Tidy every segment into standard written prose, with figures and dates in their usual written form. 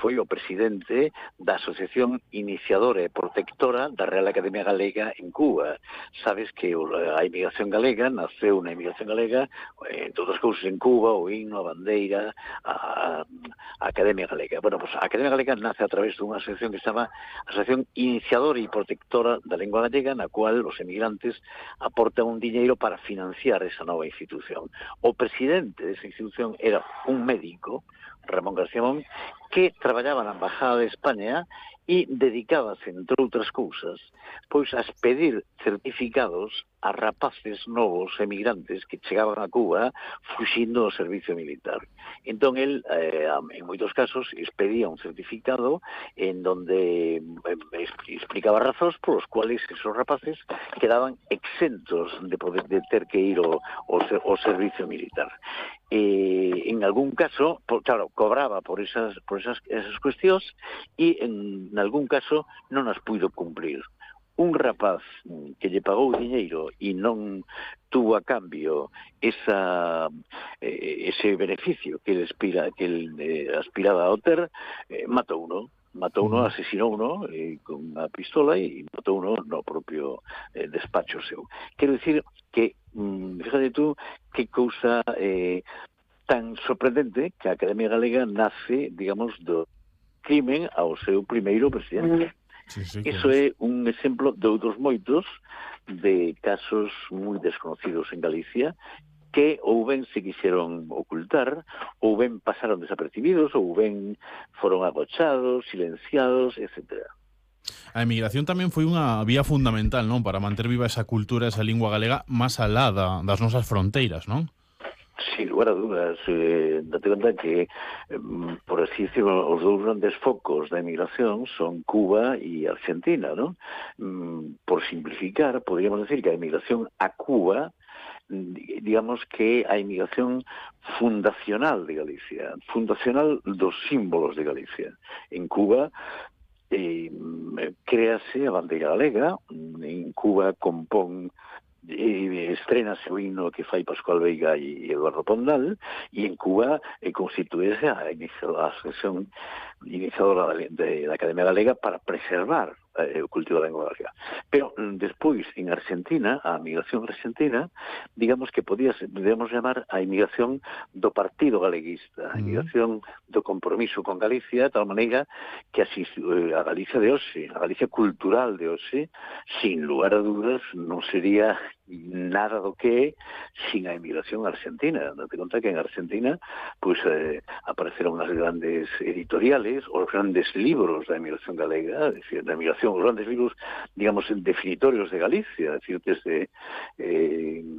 foi o presidente da Asociación Iniciadora e Protectora da Real Academia Galega en Cuba. Sabes que a emigración galega naceu na emigración galega, entre outras cousas en Cuba, o himno, a bandeira, a Academia Galega. Bueno, pues a Academia Galega nace a través dunha asociación que se chama Asociación Iniciadora e Protectora da Lengua Gallega, na cual os emigrantes aportan un diñeiro para financiar esa nova institución. O presidente desa institución era un médico, Ramón García Mon, que traballaba na Embajada de España e dedicábase, entre outras cousas, pois a expedir certificados a rapaces novos emigrantes que chegaban a Cuba fuxindo do servicio militar. Entón, el, en moitos casos, expedía un certificado en donde explicaba razóns polos cuales esos rapaces quedaban exentos de ter que ir ao servicio militar. En algún caso, claro, cobraba por esas cuestións e en algún caso non as puido cumplir. Un rapaz que lle pagou diñeiro e non tuvo a cambio ese beneficio que ele aspiraba a obter, matou uno, asesinou uno con unha pistola e matou uno no propio despacho seu. Quero dicir que, fíjate tú, que cousa tan sorprendente que a Academia Galega nace, digamos, do crimen ao seu primeiro presidente. Sí, Iso é un exemplo de outros moitos de casos moi desconocidos en Galicia que ou ben se quixeron ocultar, ou ben pasaron desapercibidos, ou ben foron agochados, silenciados, etc. A emigración tamén foi unha vía fundamental, non, para manter viva esa cultura, esa lingua galega máis alá das nosas fronteiras, non? Sin lugar a dudas, date conta que, por así decirlo, os dous grandes focos da emigración son Cuba e Argentina, ¿no? Por simplificar, podríamos decir que a emigración a Cuba, digamos que a emigración fundacional de Galicia, fundacional dos símbolos de Galicia. En Cuba créase a bandeira galega, en Cuba compón estrenase o himno que fai Pascual Veiga e Eduardo Pondal, e en Cuba constituíse a asociación iniciadora da Academia Galega para preservar o cultivo da lengua galega. Pero despois, en Argentina, a migración argentina, digamos que podemos chamar a emigración do Partido Galeguista, a emigración do compromiso con Galicia, de tal maneira que así a Galicia de hoxe, a Galicia cultural de hoxe, sin lugar a dúdas, non sería nada do que sin a emigración argentina. Date conta que en Argentina pues apareceron as grandes editoriales, os grandes libros da emigración galega, es decir, da emigración, os grandes libros, digamos, definitorios de Galicia, es decir, desde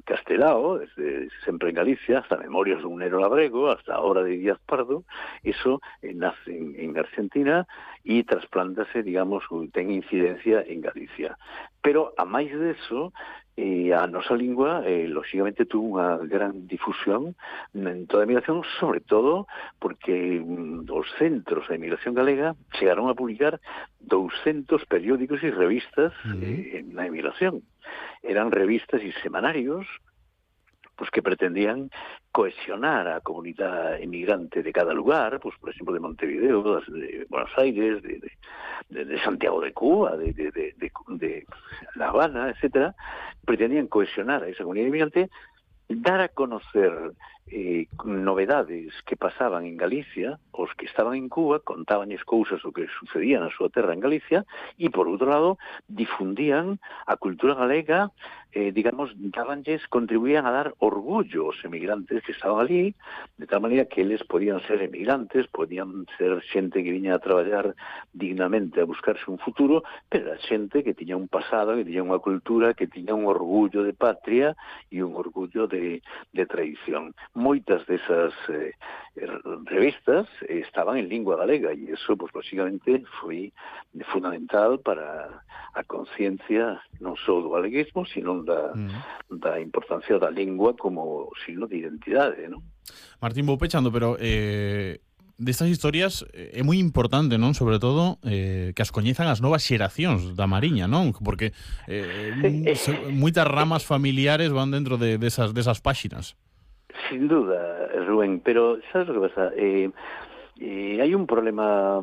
Castelao, desde Sempre en Galicia, hasta Memorias dun Nero Labrego, hasta a Obra de Díaz Pardo, eso nace en Argentina e trasplántase, digamos, ten incidencia en Galicia. Pero, a máis deso, a nosa lingua, lógicamente, tuvo unha gran difusión en toda a emigración, sobre todo porque os centros da emigración galega chegaron a publicar 200 periódicos e revistas na emigración. Eran revistas e semanarios pues que pretendían cohesionar a comunidade emigrante de cada lugar, pues por exemplo de Montevideo, de Buenos Aires, de Santiago de Cuba, de La Habana, etcétera, pretendían cohesionar a esa comunidade emigrante, dar a conocer novedades que pasaban en Galicia, os que estaban en Cuba contabanlles cousas o que sucedía na súa terra en Galicia, e por outro lado difundían a cultura galega, digamos, contribuían a dar orgullo aos emigrantes que estaban ali, de tal maneira que eles podían ser emigrantes, podían ser xente que viña a traballar dignamente a buscarse un futuro, pero era xente que tiña un pasado, que tiña unha cultura, que tiña un orgullo de patria e un orgullo de tradición. Moitas desas revistas estaban en lingua galega e iso, pues, lógicamente, foi fundamental para a conciencia non só do galeguismo, sino da importancia da lingua como signo de identidade, non? Martín, vou pechando, pero destas historias é moi importante, non? Sobre todo que as coñezan as novas xeracións da Mariña, non? Porque moitas ramas familiares van dentro desas páxinas. Sin duda, Rubén, pero sabes o que pasa? Hai un problema